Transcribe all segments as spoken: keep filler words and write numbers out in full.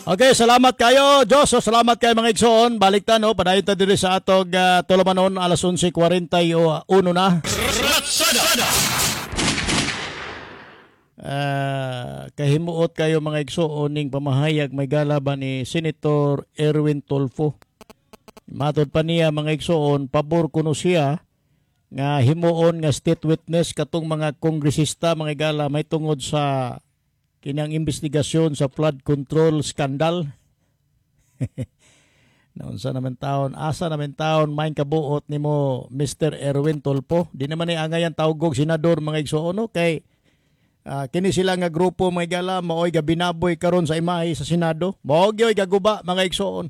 Okay, salamat kayo, Diyos. So, salamat kayo mga igsoon. Balik ta no, padayon ta diri sa atog uh, tulumanon alas onse kuwarenta y uno na. Ratsada. Uh, kahimuot kayo mga igsoon ning pamahayag may gala ba ni Senator Erwin Tulfo. Matod pa niya mga igsoon, pabor kuno siya nga himuon nga state witness katong mga kongresista mga igala may tungod sa kinang investigasyon sa flood control scandal. Naunsa naman taon, asa naman taon main kabuot nimo Mister Erwin Tulfo. Di naman ni angayan tawgog senador mga igsoon no kay uh, kini sila nga grupo mga igala maoy gabinaboy karon sa imahe sa Senado. Mao gyoy gaguba mga igsoon.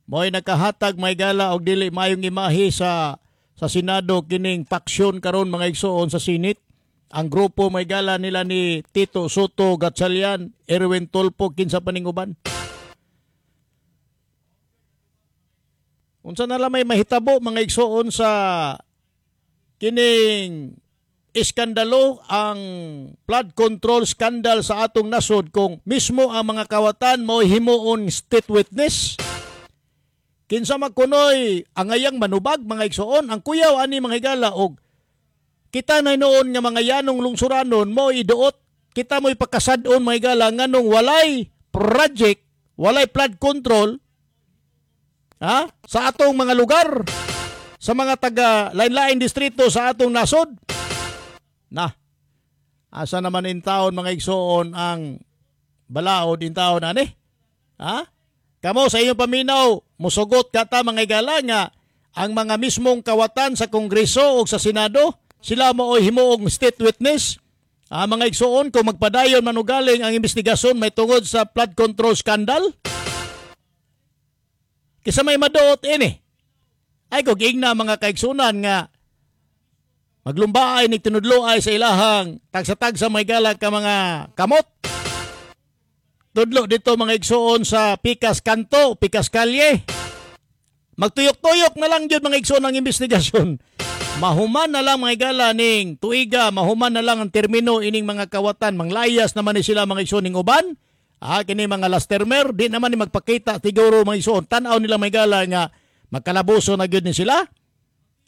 Maoy nakahatag mga igala og dili maayong imahe sa sa Senado kining faction karon mga igsoon sa Senate. Ang grupo may gala nila ni Tito Sotto Gatchalian, Erwin Tulfo, kinsa pa ning uban. Unsa na lang may mahitabo mga igsoon sa kining iskandalo ang flood control scandal sa atong nasod kung mismo ang mga kawatan mo himuon state witness? Kinsa magkunoy angayang manubag mga igsoon ang kuyaw ani mga higala og kita na noon nga mga yanong lungsuranon mo iduot kita mo'y pagkasad-on mga higala nganong walay project, walay flood control ha sa atong mga lugar sa mga taga lain-lain distrito sa atong nasod. Na asa naman in taon mga igsoon ang balaod in taon ani? Ha? Kamo sa inyong paminaw, musugot ka ta mga higala nga ang mga mismong kawatan sa Kongreso o sa Senado, sila mo oy himuong state witness. Ah, mga igsoon, kung magpadayon manugaling ang investigasyon may tungod sa flood control scandal, kisa may maduot ini. Ay kog ingna mga kaigsunan nga maglumbaay ni tinudloay sa ilahang tagsa-tagsa may gala ka mga kamot. Tudlo dito mga igsoon sa Pikas Kanto, Pikas Kalye. Magtuyok-tuyok na lang yun mga igsoon ang investigasyon. Mahuman na lang mga igala ning tuiga, mahuman na lang ang termino ining mga kawatan. Manglayas naman ni sila mga igsoon ning uban. Ah, kini mga last termer, di naman ni magpakita siguro mga igsoon. Tan-aw nila mga igala nga magkalabuso na gyud ni sila.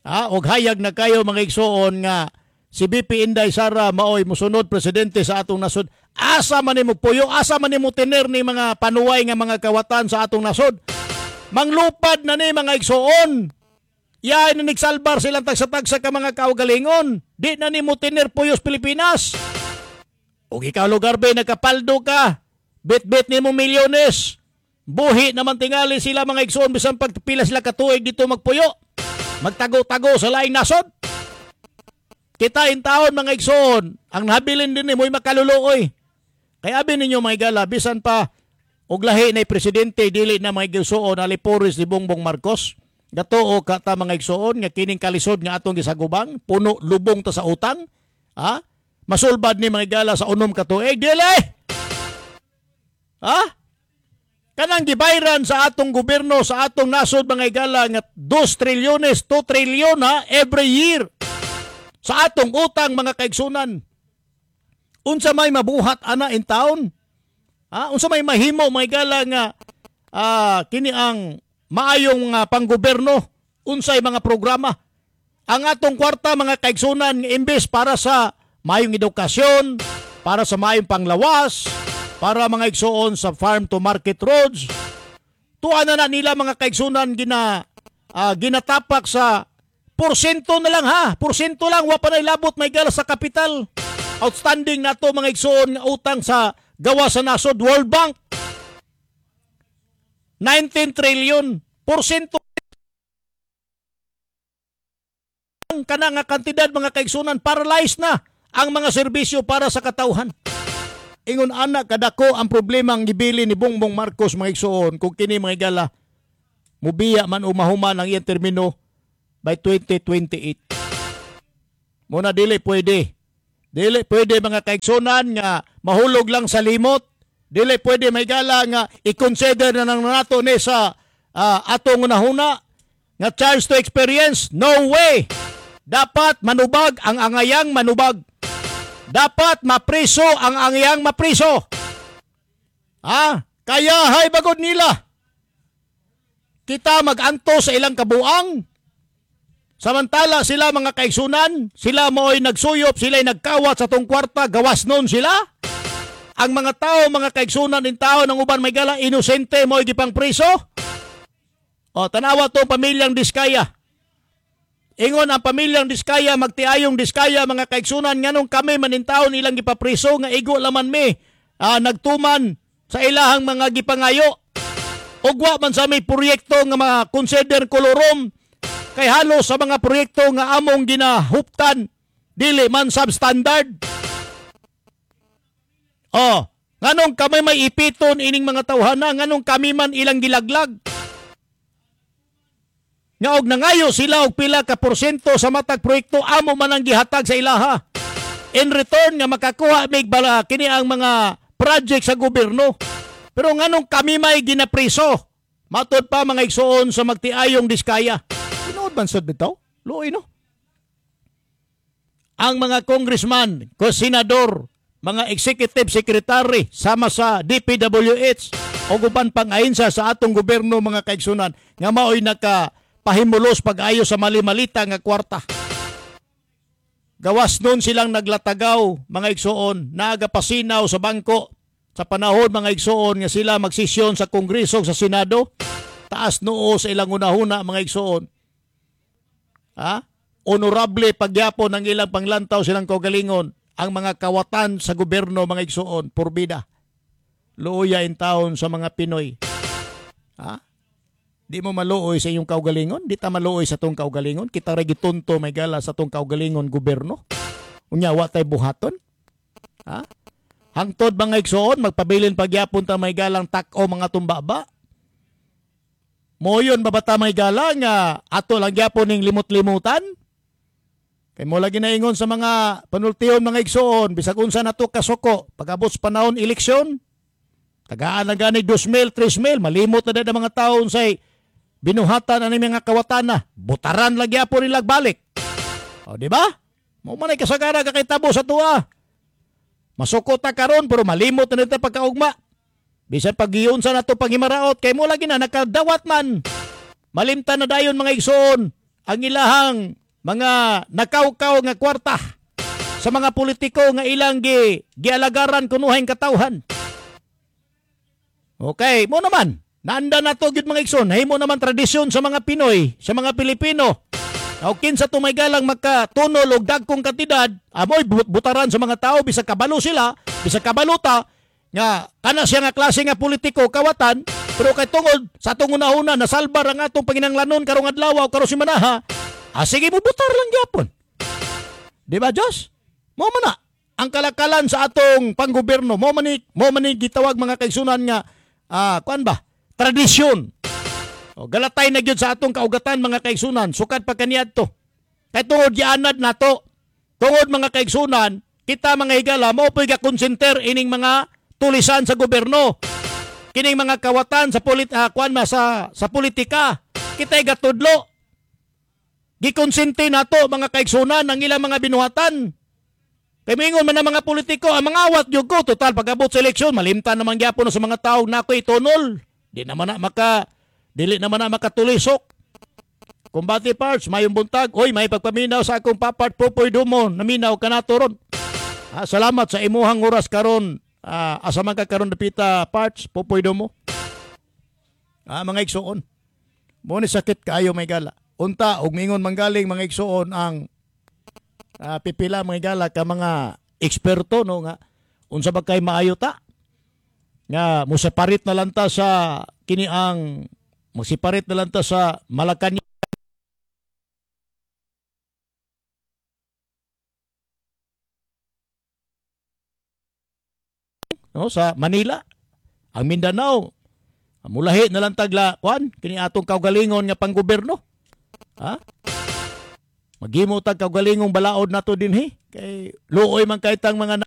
Ah, og hayag na kayo mga igsoon nga si V P Inday Sara maoy musunod presidente sa atong nasod. Asa man nimo puyo, asa man nimo tener ni mga panuway nga mga kawatan sa atong nasod. Manglupad na ni mga igsoon. Yaay na nagsalbar silang tagsa-tagsa ka mga kaugalingon. Di na nimo tener puyos Pilipinas. Og ikaw lugar be nagkapaldo ka. Bit-bit nimo milyones. Buhi naman tingali sila mga igsoon bisan pagpila sila katuig dito magpuyo. Magtago-tago sa laing nasod. Kita in taon mga igsoon, ang nabilin din ni mo'y makaluluoy. Kaya abi ninyo mga igala, bisan pa og lahi na presidente dili na mga igsoon alipores ni Bongbong Marcos. Gatoo ka ta mga igsoon nga kining kalisod nga atong gisagubang, puno lubong ta sa utang. Ha? Masulbad ni mga igala sa unom ka tuig dili. Ha? Kanang gibayran sa atong gobyerno sa atong nasod mga igala nga two trilyones, two trilyon ha, every year sa atong utang mga kaigsunan. Unsa may mabuhat ana in town? Ha? Unsa may mahimo mga igala nga ah, kini ang maayong uh, panggobyerno, unsay mga programa? Ang atong kwarta mga kaigsunan nga imbes para sa maayong edukasyon, para sa maayong panglawas, para mga igsoon sa farm to market roads. Tuwa na na nila mga kaigsunan gina ah, ginatapak sa porsyento na lang ha. Porsyento lang wa pa na ilabot may gala sa kapital. Outstanding na to mga igsoon nga utang sa gawa sa nasod World Bank. nineteen trillion. Porsyento kana nga kantidad mga kaigsunan, paralyzed na ang mga serbisyo para sa katawhan. Ingon ana kadako ang problema ang gibili ni Bongbong Marcos mga igsoon kung kini mga igala mubiya man o mahuman ang iyang termino by twenty twenty-eight. Muna dili pwede. Dili pwede mga kaigsunan nga mahulog lang sa limot. Dili pwede may gala nga i-consider na nang nato ni sa ah, atong unahuna nga charge to experience. No way! Dapat manubag ang angayang manubag. Dapat mapriso ang angayang mapriso. Ah, Kaya hay bagod nila. Kita maganto sa ilang kabuang. Samantala sila mga kaigsunan, sila mo'y nagsuyop, sila'y nagkawat sa tong kwarta, gawas nun sila. Ang mga tao, mga kaigsunan ng tao ng uban may gala, inosente mo'y gipang priso. O, tanawa to pamilyang Diskaya. Ingon ang pamilyang Diskaya, magtiayong Diskaya, mga kaigsunan, nganong kami manintaon ilang gipapriso, nga igo laman mi, ah, nagtuman sa ilahang mga gipangayo. Ugwa man sa may proyekto nga mga consider kolorom, kay halos sa mga proyekto nga among ginahuptan, dili man substandard. Oh, nganong kami may ipiton ining mga tawhana, nganong kami man ilang gilaglag. Nga og nangayo sila og pila ka porsyento sa matag proyekto, amo man ang gihatag sa ilaha. In return nga makakuha mig bala kini ang mga project sa gobyerno. Pero nganong kami may ginapriso? Matod pa mga igsuon sa magtiayong Diskaya. Tinuod man sad bitaw? Luoy no. Ang mga congressman, ko senador, mga executive secretary sama sa D P W H o uban pang ahensa sa atong gobyerno mga kaigsunan nga maoy naka pahimulos pag-ayo sa mali-malita nga kwarta. Gawas nun silang naglatagaw mga igsuon, nagapasinaw sa bangko sa panahon mga igsuon nga sila magsisyon sa Kongreso sa Senado, taas noo sa ilang unahuna mga igsuon. Ha? Honorable pagyapon ang ilang panglantaw silang kaugalingon ang mga kawatan sa gobyerno mga igsuon, purbida. Luoya in taon sa mga Pinoy. Ha? Di mo maluoy sa iyong kaugalingon? Di ta maluoy sa tong kaugalingon? Kita ra gitunto may gala sa tong kaugalingon gobyerno? Unya, wa tay buhaton? Ha? Hangtod mga igsuon, magpabilin pagyapon ta may galang tak-o mga tumbaba? Moyon ba ta may gala nga ato lang gyapon ning limot-limutan? Kay mo lagi naingon sa mga panultihon mga igsuon, bisag unsa nato kasuko, pag-abot sa panahon eleksyon, tagaan na gani dos mil, tres mil, malimot na dahil mga taon say binuhatan ani mga kawatan na, butaran lagi po nilag balik. O, di ba? Mo man ay kasagara kakitabo sa tuwa. Masuko ta karon pero malimot na nito pagkaugma. Bisan paggiyon sa nato paghimaraot kay mo lagi na nakadawat man. Malimtan na dayon mga igsoon ang ilahang mga nakawkaw nga kwarta sa mga politiko nga ilang gi, gialagaran kunuhang katawhan. Okay, mo naman. Naanda na to gyud mga igsoon. Himo naman tradisyon sa mga Pinoy, sa mga Pilipino. O kinsa tumay galang makatunol og dagkong kantidad, amoy butaran sa mga tao bisag kabalo sila, bisag kabalota nga kana siya nga klase nga politiko kawatan, pero kay tungod sa atong unahuna nasalbar ang atong panginanglanon karong adlaw o karong simanaha, ah, sige bubutar lang gyapon. Di ba Diyos? Mo man na ang kalakalan sa atong panggobyerno, mo man ni, mo man ni gitawag mga kaigsunan nga ah, kuan ba? Tradisyon. O, galatay na gyud sa atong kaugatan mga kaigsunan, sukad pa kaniadto. Kay tungod gianad nato, tungod mga kaigsunan, kita mga higala mao po'y gakonsenter ining mga tulisan sa gobyerno. Kining mga kawatan sa polit uh, kuan ma sa sa politika, kita'y gatudlo. Gikonsente nato mga kaigsunan ang ilang mga binuhatan. Kay mingon man ang mga politiko, ang mga awat gyud ko total pag-abot sa eleksyon, malimtan naman gyapon na sa mga tawo nako itunol. Di naman na maka dili naman na makatulisok. Kumbati parts, mayong buntag. Oy, may pagpaminaw sa akong papart Popoy Dumo. Naminaw ka na to ron. Ah, salamat sa imuhang oras karon. Ah, asa man ka karon dapita parts Popoy Dumo. Ah, mga igsuon. Mo ni sakit kaayo may gala. Unta og mingon manggaling mga igsuon ang ah, pipila mga gala ka mga eksperto no nga unsa ba kay maayo ta? Nga moseparate na lang ta sa kini ang mosiparit na lang ta sa Malacañang no, sa Manila, ang Mindanao, mulahi na lang tagla kuan kini atong kaugalingon nga panggobyerno. Ha? Maghimo tag kaugalingong balaod nato dinhi kay luoy man kay tang mga